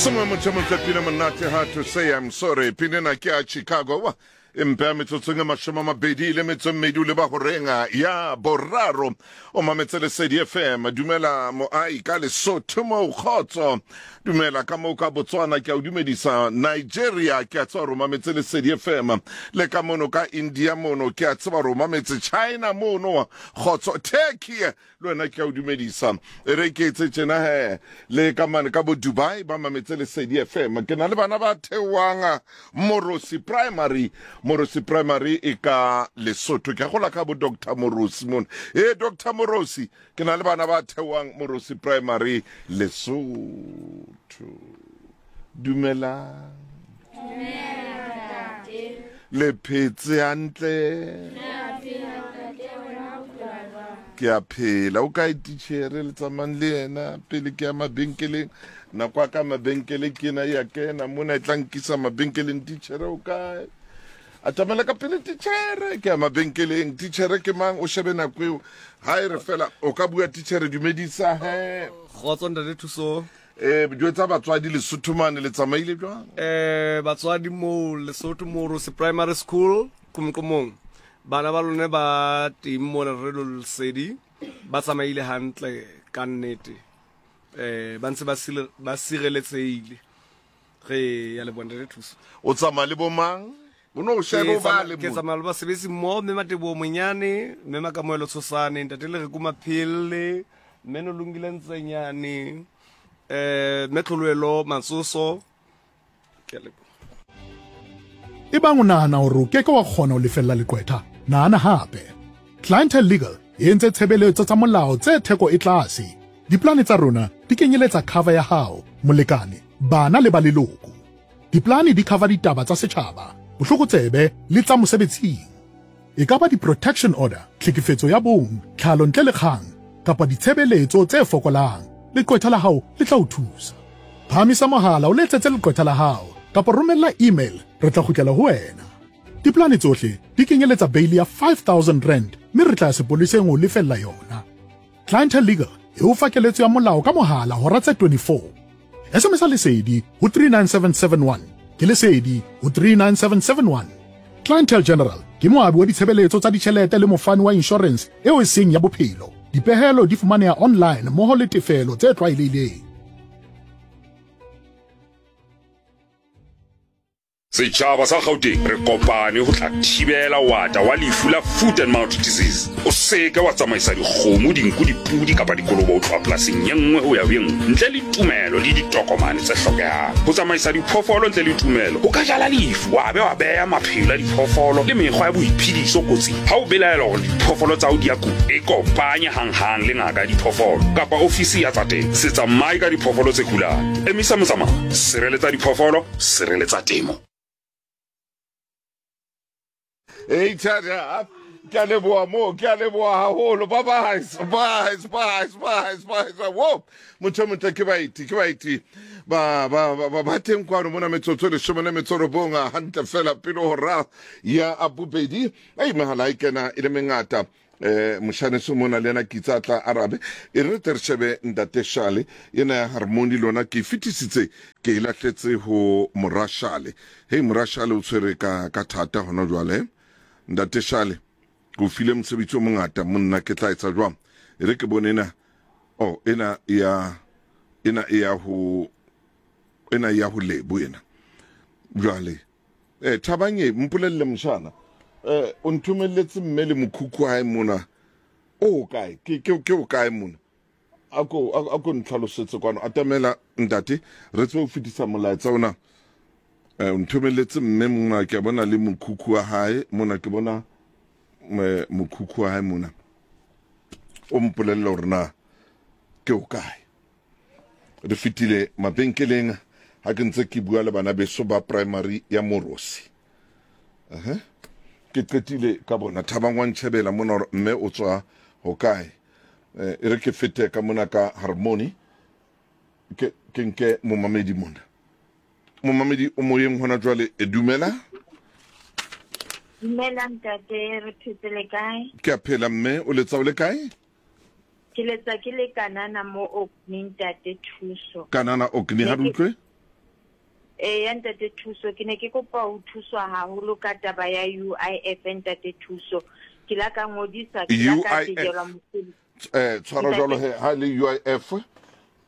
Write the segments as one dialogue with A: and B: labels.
A: Sengwe motho motle pina monate hard to say I'm sorry pina ena ke ya Chicago wa empe ya metsotsong e mashome a mabedi le metso e mmedi o leba horenga ya boraro o mametse Lesedi FM dumela moai ka Lesotho moo kgotso dumela ka moo ka Botswana ke a o dumedisa Nigeria ke a tseba gore o mametse Lesedi FM le ka mono ka India mono ke a tseba gore o mametse China mono kgotso Turkey Le wena ke a o dumedisa. E re ke etse tjena he, le ka mane ka bo Dubai ba mametse Lesedi FM. Ke na le bana ba theoang Morosi Primary. Morosi Primary e ka Lesotho. Ke gola ka bo Doctor Morosi mona. E Doctor Morosi, ke na le bana ba theoang Morosi Primary Lesotho. Dumelang.
B: Dumela ntate.
A: Le phetse hantle?
B: Re a phela ntate, wena o phela jwang?
A: Ke a phela. O kae titjhere le tsamayang le yena pele ke ya mabenkeleng? Nako ya ka mabenkele ke ena ya kena mona e tla nkisa mabenkeleng. Titjhere o kae? Atamela ka pele titjhere, ke ya mabenkeleng. Titjhere ke mang? O shebe nako eo. Ha e re fela o ka bua titjhere dumedisa he.
C: Kgotso ntate Thuso.
A: Eh, jwetsa batswadi Lesotho mane le tsamaile jwang?
C: Eh, batswadi moo Lesotho Morosi Primary School Qumqumong. Bana ba lone ba teng mona re lo lesedi ba tsamaile hantle ka nnete. Eh, ba ntse ba sile ba sireletsehile. Re ya leboha ntate Thuso.
A: O tsamaya le bomang? O no shebe o bale
C: Ke tsamaya le basebetsi mmoho, mme Mateboho Monyane, mme Makamoelo Tshosane, ntate Lereko Maphelle, mme Nolungile Ntsenyane, eh mme Tlholoelo Matsoso. Ke a leboha.
D: Ebang o nahana hore o ke ke wa kgona ho lefella leqwetha, nahana hape. Clientele Legal e entse tshebeletso tsa molao tse theko e tlase. Diplane tsa rona di kenyeletsa cover ya hao, molekane, bana le ba leloko. Diplane di cover ditaba tsa setjhaba, bohlokotsebe le tsa mosebetsing. E ka ba di-protection order, tlhekefetso ya bong, tlhalo ntle le kgang, kapa ditshebeletso tse fokolang, leqwetha la hao le tla o thusa. Phahamisa mohala o letsetse leqwetha la hao kapa romella email re tla kgutlela ho wena. Diplane tsohle di kenyeletsa beili ya R5000 mme re tla ya sepoleseng ho lefella yona. Clientele Legal e o fa keletso ya molao ka mohala hora tse 24. SMS Lesedi ho 39771. Ke Lesedi ho 39771. Clientele General ke moabi wa ditshebeletso tsa ditjhelete le mofani wa inshorense eo e seng ya bophelo. Dipehelo di fumaneha online mmoho le tefelo tse tlwaelehileng.
E: Setjhaba sa Gauteng re kopane ho tla thibela ho ata wa lefu la foot and mouth disease. O seke wa tsamaisa dikgomo, dinku, dipudi kapa dikolobe ho tloha polasing ye nngwe ho ya ho ye nngwe ntle le tumelo le ditokomane tse hlokehang. Ho tsamaisa diphoofolo ntle le tumelo ho ka jala lefu wa be wa beha maphelo a diphoofolo le mekgwa ya boiphediso kotsing. Ha o belaela hore diphoofolo tsa hao di a kula, ikopanye hanghang le ngaka ya diphoofolo kapa ofisi ya tsa temo. Se tsamaye ka diphoofolo tse kulang. Emisa motsamao. Sireletsa diphoofolo. Sireletsa temo.
A: Ei thata ke a leboha moo ke a leboha haholo ba bye bye bye bye bye wo motho o motle ke baeti ke baeti ba ba ba ba teng kwano mona metsotso e leshome le metso robong hantle fela pele hora ya bobedi ei mehala e kena e le mengata eh moshaneso mona le yena kitsa tla arabe e re tle re shebe ntate Shale ena ya harmony lona ke e fetisitse ke e lahletse ho mora Shale hei mora Shale o tshwere ka ka thata hona jwale ntate Shale ke o file mosebetsi o mongata monna ke tla etsa jwang e re ke bone ena oh ena ya ena e ya ho ena ya ho lebo ena jwale Eh, Thabang e, mpolelle moshana. Eh, o nthomelletse mme le mokhukhu hae mona. O kae? Ke ke ke o kae mona? Ako ako ntlhalosetse kwano. Atamela ntate, re tsebe ho fetisa molaetsa ona. Eh, o nthomelletse mme mona ke bona le mokhukhu wa hae mona ke bona eh, mokhukhu wa hae mona. O mpolelle hore na ke o kae. Re fetile mabenkeleng ha ke ntse ke bua le bana beso ba primary ya Morosi. Uh-huh. Ke qetile ka bona Thabang wa ntjhebela mona hore mme o tswa hokae. Eh, e re ke fete ka mona ka Harmony ke ke nke momamedi mona. Momamedi o moyeng hona jwale e dumela.
F: Dumela ntate, re phetse le kae?
A: Ke a phela mme o letsa o le kae?
F: Ke letsa ke le Kanana mo Orkney ntate Thuso.
A: Kanana Orkney ha re utlwe.
F: Eya Ntate Thuso, ke ne ke kopa ho thuswa haholo ka taba ya UIF Ntate Thuso. Ke la ka ngodisa, ke la ka
A: UIF.
F: tejelwa mosebetsi.
A: Eh, tshwara
F: Ntate-
A: jwalo he, ha e le UIF,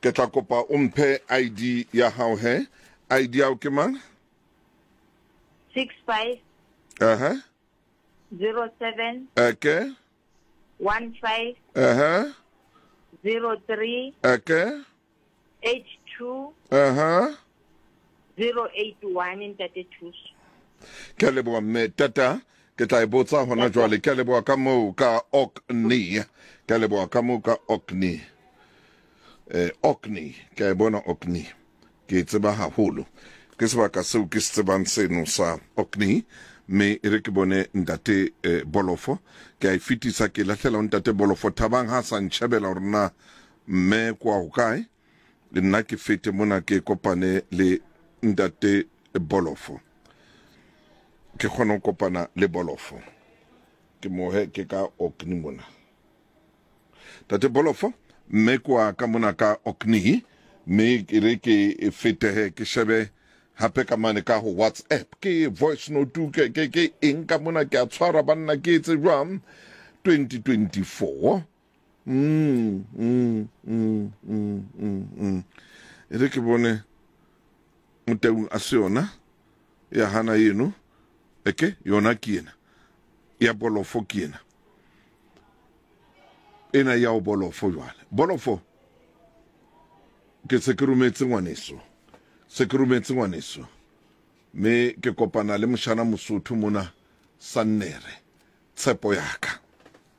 A: ke tla kopa o mphe ID ya hao he. ID ya hao ke mang?
F: 65
A: Aha.
F: 07
A: Eke.
F: 15
A: Aha.
F: 03
A: Eke.
F: 82
A: Aha.
F: 081 Ntate Thuso.
A: Ke a leboha mme tata ke tla e botsa hona jwale ke a leboha ka moo ka Orkney ke a leboha ka moo ka Orkney eh Orkney ke a e bona Orkney ke e tseba haholo ke sebaka seo ke se tsebang seno sa Orkney mme e re ke bone ntate eh, Bolofo ke a e fetisa ke lahlela ho ntate Bolofo Thabang ha sa ntjhebela hore na mme kwa hokae le nna ke fete mona ke kopane le ntate Bolofo ke kgone ho kopana le Bolofo ke mohe ke ka Orkney mona tate Bolofo mme kwa ka mona ka Orkney mme ke re ke fetehe ke shebe hape ka mane ka ho WhatsApp ke voice note ke ke ke eng ka mona ke a tshwara banna ke etse jwang 2024 Mm, mm, mm, mm, mm, mm. E re ke bone motaung a se yona ya hana eno eke yona ke ena ya bolofo ke ena ena ya o bolofo jwale bolofo ke se ke rometse ngwaneso se ke rometse ngwaneso mme ke kopana le moshana mosotho mona sannere tshepo yaka.